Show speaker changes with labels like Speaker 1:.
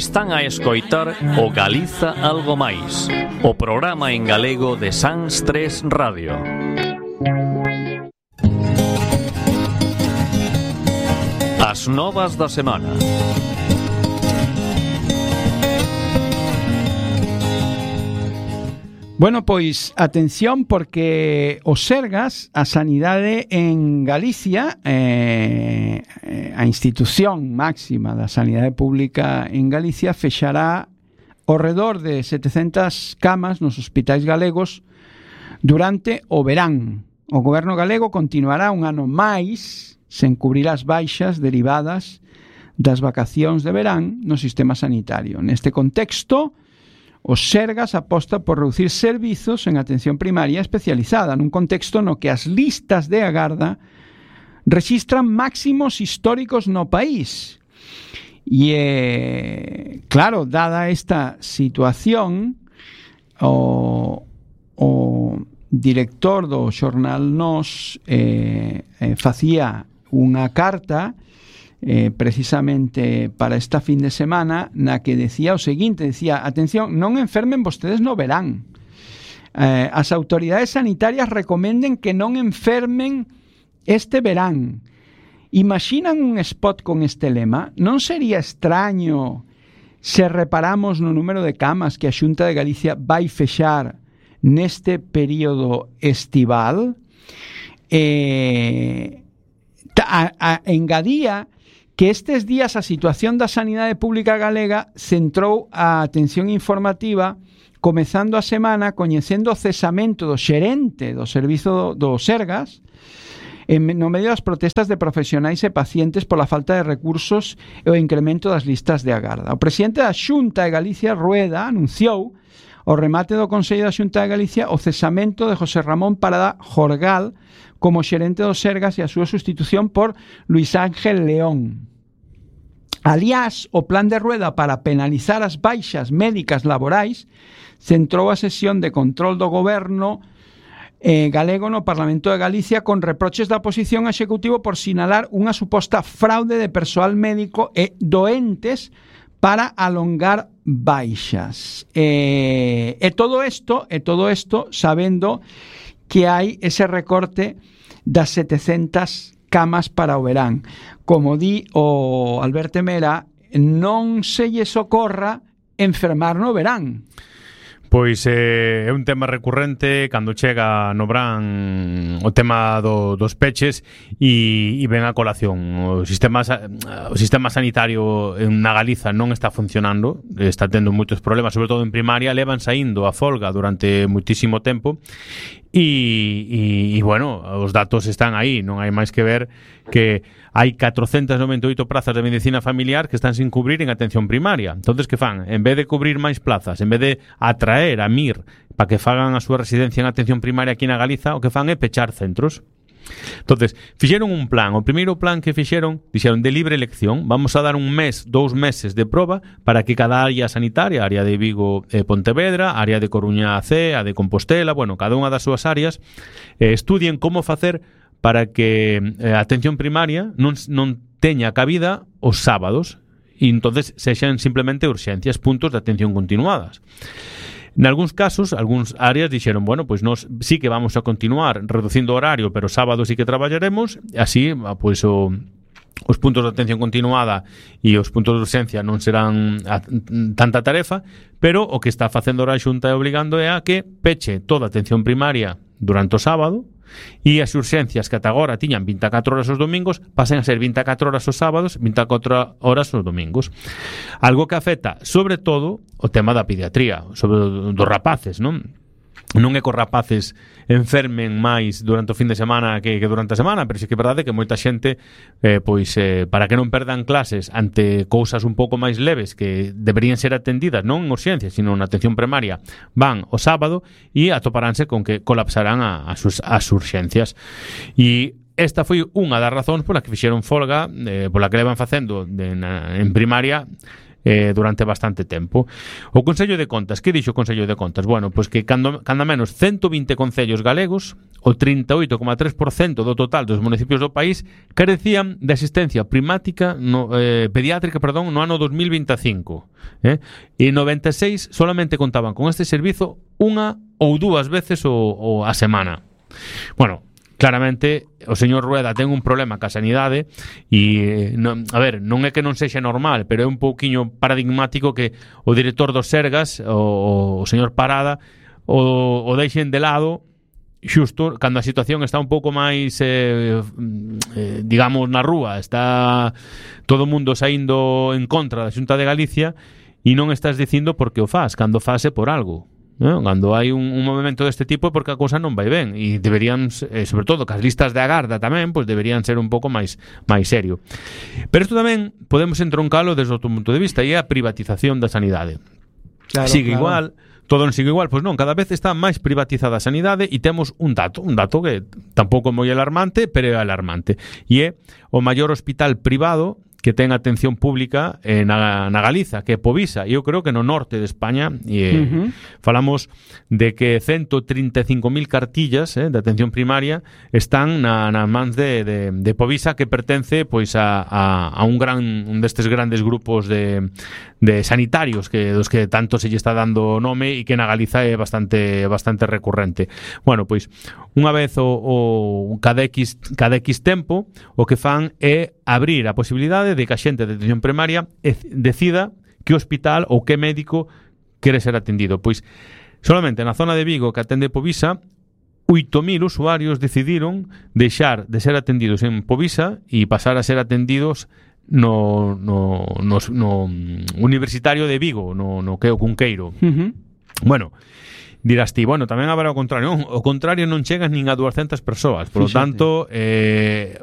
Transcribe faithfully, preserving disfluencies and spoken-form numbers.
Speaker 1: Están a escoitar o Galiza Algo Máis, o programa en galego de Sans tres Radio. As novas da semana.
Speaker 2: Bueno, pois, atención, porque o Sergas, a sanidade en Galicia, eh, a institución máxima da sanidade pública en Galicia, fexará ao redor de setecentas camas nos hospitais galegos durante o verán. O goberno galego continuará un ano máis sen cubrir as baixas derivadas das vacacións de verán no sistema sanitario. Neste contexto, o Sergas aposta por reducir servizos en atención primaria especializada nun contexto no que as listas de agarda rexistran máximos históricos no país. E, eh, claro, dada esta situación, o, o director do xornal Nós eh, eh, facía unha carta Eh, precisamente para esta fin de semana na que decía o seguinte, decía, atención, non enfermen vostedes no verán, eh, as autoridades sanitarias recomenden que non enfermen este verán. Imaginan un spot con este lema? Non sería extraño se reparamos no número de camas que a Xunta de Galicia vai fexar neste período estival? Eh, a, a, engadía que estes días a situación da sanidade pública galega centrou a atención informativa comezando a semana coñecendo o cesamento do xerente do servizo do Sergas en, no medio das protestas de profesionais e pacientes pola falta de recursos e o incremento das listas de agarda. O presidente da Xunta de Galicia, Rueda, anunciou o remate do Consello da Xunta de Galicia o cesamento de José Ramón Parada Jorgal como xerente do Sergas e a súa sustitución por Luis Ángel León. Aliás, o plan de Rueda para penalizar as baixas médicas laborais centrou a sesión de control do goberno eh, galego no Parlamento de Galicia con reproches da oposición ao Executivo por sinalar unha suposta fraude de persoal médico e doentes para alongar baixas. Eh, e todo isto, e todo isto sabendo que hai ese recorte das setecentas camas para o verán. Como di o Alberto Mera, non se lle socorra enfermar no verán.
Speaker 3: Pois eh, é un tema recurrente cando chega no verán o tema do, dos peches e, e ven a colación. O sistema, o sistema sanitario na Galiza non está funcionando, está tendo moitos problemas, sobre todo en primaria, levan saindo a folga durante moitísimo tempo. E, e, e, bueno, os datos están aí, non hai máis que ver que hai catrocentas noventa e oito prazas de medicina familiar que están sin cubrir en atención primaria. Entonces, que fan? En vez de cubrir máis plazas, en vez de atraer a M I R para que fagan a súa residencia en atención primaria aquí na Galiza, o que fan é pechar centros. Entonces, fixeron un plan. O primeiro plan que fixeron, dixeron de libre elección. Vamos a dar un mes, dous meses de proba para que cada área sanitaria, área de Vigo e Pontevedra, área de Coruña C, a de Compostela, bueno, cada unha das súas áreas, eh, estudien como facer para que eh, a atención primaria non, non teña cabida os sábados e entonces sexan simplemente urxencias, puntos de atención continuadas. En algúns casos, algúns áreas dixeron, bueno, pois nós sí que vamos a continuar reducindo o horario, pero sábado sí que traballaremos, así, pois o os puntos de atención continuada e os puntos de urxencia non serán a, tanta tarefa, pero o que está facendo a Xunta e obligando é a que peche toda a atención primaria durante o sábado e as urxencias que ata agora tiñan vinte e catro horas os domingos pasen a ser vinte e catro horas os sábados, vinte e catro horas os domingos. Algo que afecta sobre todo o tema da pediatría, sobre dos rapaces, non? Non é que os rapaces enfermen máis durante o fin de semana que, que durante a semana, pero sí que é verdade que moita xente eh, pois eh, para que non perdan clases ante cousas un pouco máis leves que deberían ser atendidas non en urxencias, sino na atención primaria, van o sábado e atoparánse con que colapsarán a, a sus, as urxencias. E esta foi unha das razóns pola que fixeron folga, eh, pola que levan facendo de, na, en primaria eh, durante bastante tempo. O Consello de Contas, que dixo o Consello de Contas? Bueno, pois que cando, cando menos ciento vinte concellos galegos, o trinta e oito coma tres por cento do total dos municipios do país, carecían de asistencia primática no, eh, pediátrica, perdón, no ano dos mil veinticinco. Eh? E noventa e seis solamente contaban con este servizo unha ou dúas veces o, o a semana. Bueno, claramente o señor Rueda ten un problema ca sanidade e, non, a ver, non é que non sexa normal, pero é un pouquiño paradigmático que o director dos Sergas, o, o señor Parada, o, o deixen de lado xusto cando a situación está un pouco máis eh, eh, digamos na rúa, está todo o mundo saindo en contra da Xunta de Galicia e non estás dicindo por que o faz, cando fase por algo, ¿no? Cando hai un, un movimento deste tipo é porque a cousa non vai ben e deberían, eh, sobre todo que as listas de agarda tamén, pois deberían ser un pouco máis máis serio. Pero isto tamén podemos entroncalo desde outro punto de vista e é a privatización da sanidade. Claro, sigue claro. Igual, todo non sigue igual, pois non, cada vez está máis privatizada a sanidade e temos un dato, un dato que tampouco é moi alarmante, pero é alarmante. E é o maior hospital privado que ten atención pública eh, na, na Galiza, que é Povisa, e eu creo que no norte de España, e, eh, uh-huh. falamos de que ciento trinta e cinco mil cartillas eh, de atención primaria están na, nas mans de, de, de Povisa, que pertence pois a, a, a un gran un destes grandes grupos de, de sanitarios que dos que tanto se lle está dando nome e que na Galiza é bastante bastante recurrente. Bueno, pois unha vez o, o cada X cada X tempo o que fan é abrir a posibilidade de que a xente de atención primaria decida que hospital ou que médico quere ser atendido. Pois solamente na zona de Vigo que atende Povisa, oito mil usuarios decidiron deixar de ser atendidos en Povisa e pasar a ser atendidos no, no, no, no Universitario de Vigo, no, no que o Cunqueiro. Uh-huh. Bueno, dirás ti, bueno, tamén haberá o contrario. Non, o contrario non chegas nin a dúascentas persoas. Por lo tanto, eh,